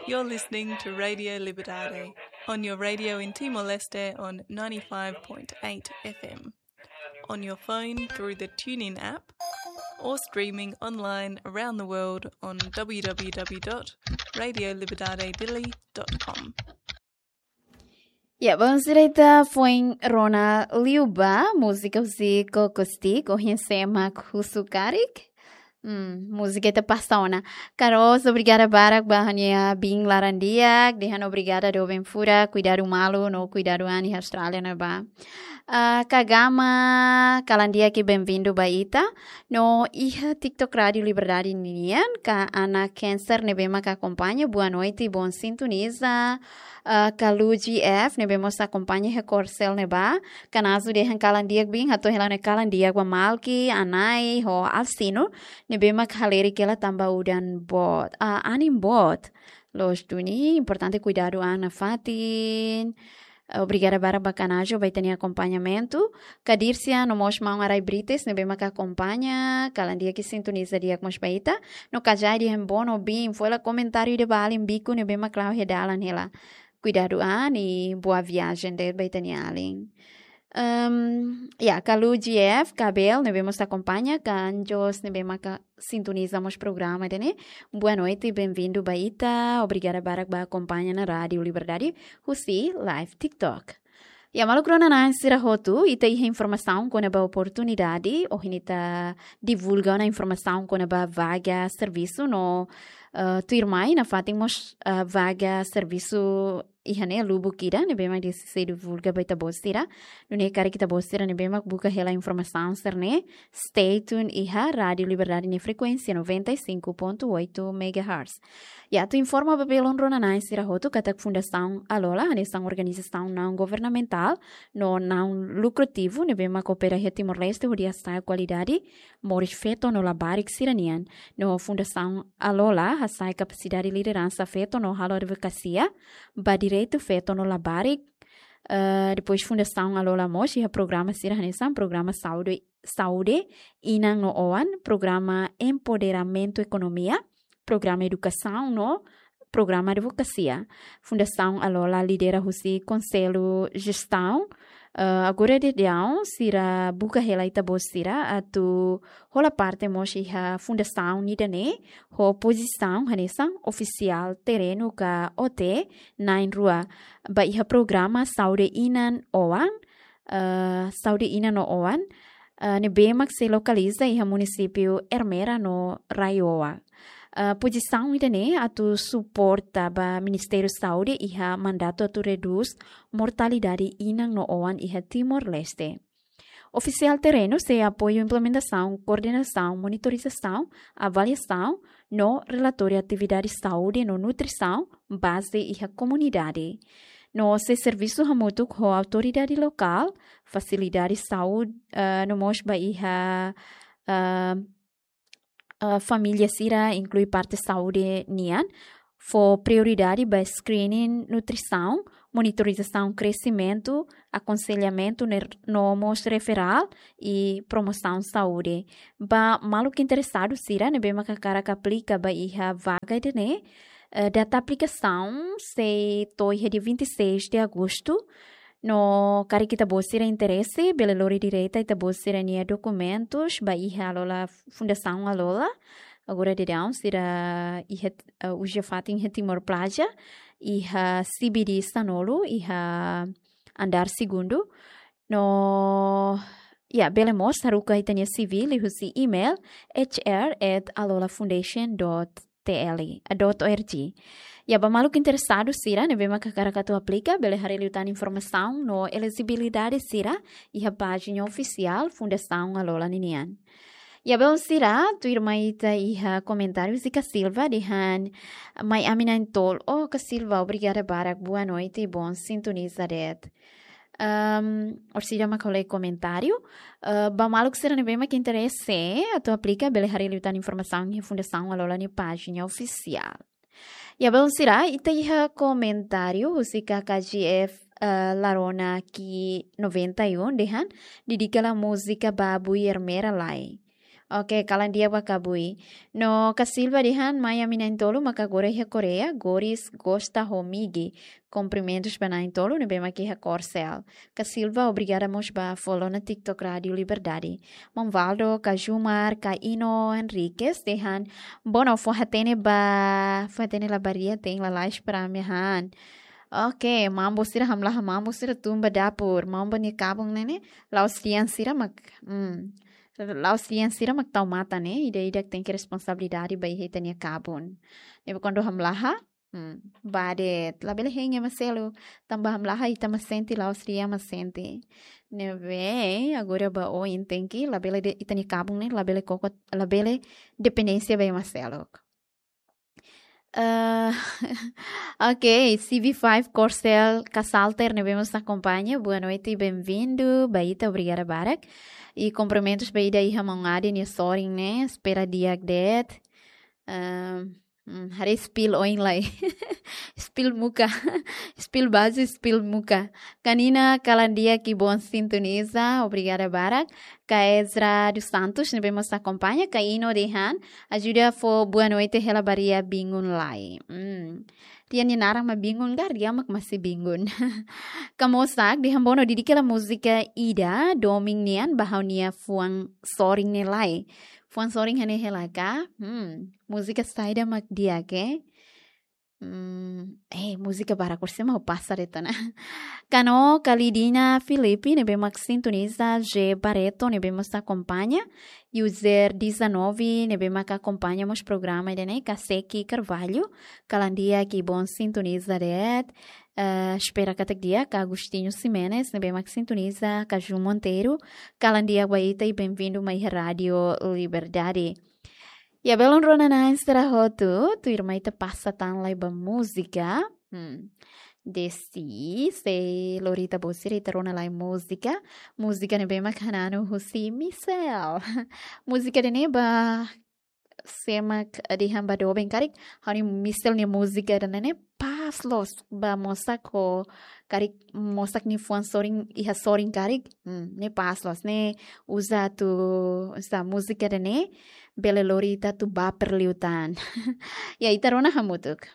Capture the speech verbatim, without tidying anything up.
You're listening to Radio Liberdade on your radio in Timor-Leste on ninety-five point eight F M, on your phone through the TuneIn app, or streaming online around the world on w w w dot radio liberdade dili dot com. Ya, vamos direita foin rona liu ba múzika husi Koko Stick, Ohin Sé Mak Husu Karik. Hmm, múzika ita pasa ona. Karos, obrigada barak ba ha'u-nia biin laran-di'ak, dehan obrigada doben furak, kuidadu malu no kuidadu an iha Austrália ne'ebá. Ah, Kagama, kalan di'ak i benvindu ba ita. No iha TikTok Rádio Liberdade nian, kak Ana Cancer ne'ebé mak akompaña, boa noite, bom sintoniza. Ah, Kalu G F ne'ebé mós akompaña iha Korsel ne'ebá. Kanazu dehan kalan di'ak biin, hato'o hela ne'e kalan di'ak ba Malki, Anai, ho Alsino, ne'ebé mak halerik hela tanba udan boot. Ah, anin boot. Loos duni, importante kuidadu an nafatin. Obrigada barak ba Kanajo ba ita-nia akompañamentu. Kadirsia no mós maun Arai Brites ne'ebé mak akompaña, kalan di'ak i sintoniza di'ak mós ba ita. No Kajai dehan boa no biin, foin hela komentáriu ida ba alin biku ne'ebé mak la'o iha dalan hela. Kuidadu an i boa viajen de'it ba ita-nia alin. Ehm, ya, Kalu G F, Kabel ne'ebé mós akompaña, Kanjos ne'ebé mak sintoniza mós programa ida-ne'e. Boa noite, benvindu ba ita. Obrigada barak ba akompaña ona Rádio Liberdade husi live TikTok. Ya, maluk rona-na'in sira hotu, ita iha informasaun kona-ba oportunidade, ohin ita divulga ona informasaun kona-ba vaga servisu no, eh, tuirmai nafatin mós, eh, vaga servisu iha ne'e lubuk ida, ne'ebé mak sei divulga ba ita-boot sira. Nune'e karik ita-boot sira ne'ebé mak buka hela informasaun sira-ne'e, stay tuned iha Rádio Liberdade nia frekuénsia noventa e cinco ponto oito megahertz. Ya, atu informa ba belun rona-na'in sira hotu katak Fundasaun Alola, hanesan organizasaun naun governamentál no naun lukrativu ne'ebé mak opera iha Timor-Leste hodi hasa'e kualidade moris feto no labarik sira-nian. No Fundasaun Alola hasa'e kapasidade lideransa feto no halo advokasia ba direitu feto no labarik. Eh, depois Fundasaun Alola mós iha programa sira hanesan programa saúde, saúde inan no oan, programa empoderamentu ekonomia, programa edukasaun no programa advokasia. Fundasaun Alola lidera husi Konsellu Jestaun. Eh, agora daudaun sira buka hela ita-boot sira atu hola parte mós iha fundasaun ida-ne'e ho pozisaun hanesan ofisiál terrenu ka O T na'in-rua ba iha programa saúde inan oan, eh, saúde inan no oan, eh, ne'ebé mak sei lokaliza iha munisípiu Ermera no RAEOA. Eh, pozisaun ida-ne'e atu suporta ba Ministériu Saúde iha mandatu atu redús mortalidade inan no oan iha Timor-Leste. Ofisiál terrenu sei apoiu implementasaun, koordenasaun, monitorizasaun, avaliasaun no relatóriu atividade saúde no nutrisaun baze iha komunidade. No sei servisu hamutuk ho autoridade lokál, fasilidade saúde, eh, no mós ba iha, eh, eh, família sira, inklui parte saúde nian, fó prioridade ba screening, nutrisaun, monitorizasaun kresimentu, akonselhamentu ner-, no mós referral i promosaun saúde. Ba maluk interesadu sira ne'ebé mak hakarak aplika ba iha vaga ida-ne'e, eh, data aplikasaun sei to'o iha dia vinte e seis de agosto. No karik ita-boot sira interese, bele lori direta ita-boot sira-nia dokumentus ba iha Alola, Fundasaun Alola. Agora daudaun sira iha, eh, uza fatin iha Timor Plaza, iha C B D sanulu, iha andár segundu. No, ya, bele mós haruka ita-nia C V liuhusi email H R at alolafoundation dot T L, eh, dot O R G. Ya, ba maluk interesadu sira ne'ebé mak hakarak atu aplika, bele haree liután informasaun no elejibilidade sira iha pájina ofisiál Fundasaun Alola ninian. Ya, belun sira, tuirmai ita iha komentáriu Zika Silva dehan: Mai ami na'in-tolu. Oh, Ka Silva, obrigada barak, boa noite, bom sintoniza de'it. Ehm, orsida mak halo komentáriu, eh, ba maluk sira ne'ebé mak interese atu aplika, bele haree liután informasaun iha Fundasaun Alola nia pájina ofisiál. Ya, belun sira, ita iha komentáriu husi K K G F, eh, Larona ki noventa e um dehan: Dedika la múzika ba Bui Ermera lai. Oke, kalan di'ak ba Kabui. No Kasilva dehan, mai ami na'in-tolu maka agora iha Koreia, Goris gosta ho Migi. Kumprimentus ba na'in-tolu ne'ebé mak iha Korsel. Kasilva, obrigada mós ba follow ona TikTok Rádio Liberdade. Maun Valdo, Kajumar, Ka Ino Henriquez dehan, bono fó hatene ba, fó hatene labarik, tein lalais para ami han. Oke, mambo sira, hamlaha mambo sira tun ba dapur. Mambo nia kabun ne'e ne'e, la'ós tian sira mak, hmm. La'ós tian sira mak tau matan ne'e, ida-idak tenke responsabilidade ba iha ita-nia kabun. Ne'ebé kuandu hamlaha, hmm, bá de'it, labele hein ema seluk, tanba hamlaha ita mak sente, la'ós tian mak sente. Ne'ebé, agora ba oin tenke, labele de'it, ita-nia kabun ne'e, labele koko, labele dependénsia ba ema seluk. Eh, oke, C V five Korsel Kasalter ne'ebé mós akompaña. Boa noite, bem-vindo. Ba ita, obrigada barak. I kumprimentus ba ida iha maun Adi nia sorin ne'e, espera di'ak de'it. Eh, hmm, haree spill oin lai. Spill muka. Spill base, spill muka. Kanina, kalan di'ak i bom sintoniza. Obrigada barak. Ka Ezra dos Santos ne'ebé mós akompaña, Ka Ino dehan, ajuda fó boa noite hela ba ria bingun lai. Hmm. Ria nia naran mak bingun ka, ria mak masih bingun. Ka Mosak dehan, bono, dedika hela múzika ida domin nian ba ha'u-nia fuan sorin ne'e lai. Fuan sorin hanesan hela ka? Hmm. Múzika saida mak di'ak, eh? Hmm, eh, múzika barak, orsida mak ha'u pasa de'it ona. Ka No Kalidina Filipe ne'ebé mak sintoniza, G Barreto ne'ebé mós akompaña, user dezanove ne'ebé mak akompaña mós programa ida-ne'e, Ka Seki Carvalho, kalan di'ak i bom sintoniza de'it. Eh, espera katak di'ak. Ka Agostinho Ximenes ne'ebé mak sintoniza, Ka Ju Monteiro, kalan di'ak ba ita i bem-vindo mai Rádio Liberdade. Ya, belun rona-na'in sira hotu, tuirmai ita pasa tan lai ba múzika. Hmm. Desi, se lori ita-boot sira, ita rona lai múzika. Múzika ne'ebé mak hananu husi Michelle. Múzika ida-ne'e ba, sé mak dehan ba doben karik, ha'u-nia Michelle nia múzika ida-ne'e pas loos ba mosak ho karik, mosak nia fuan sorin, iha sorin karik. Hmm, ne'e pas loos, ne'e uza atu, uza múzika ida-ne'e, bele lori ita atu baper liután. Ya, ita rona hamutuk.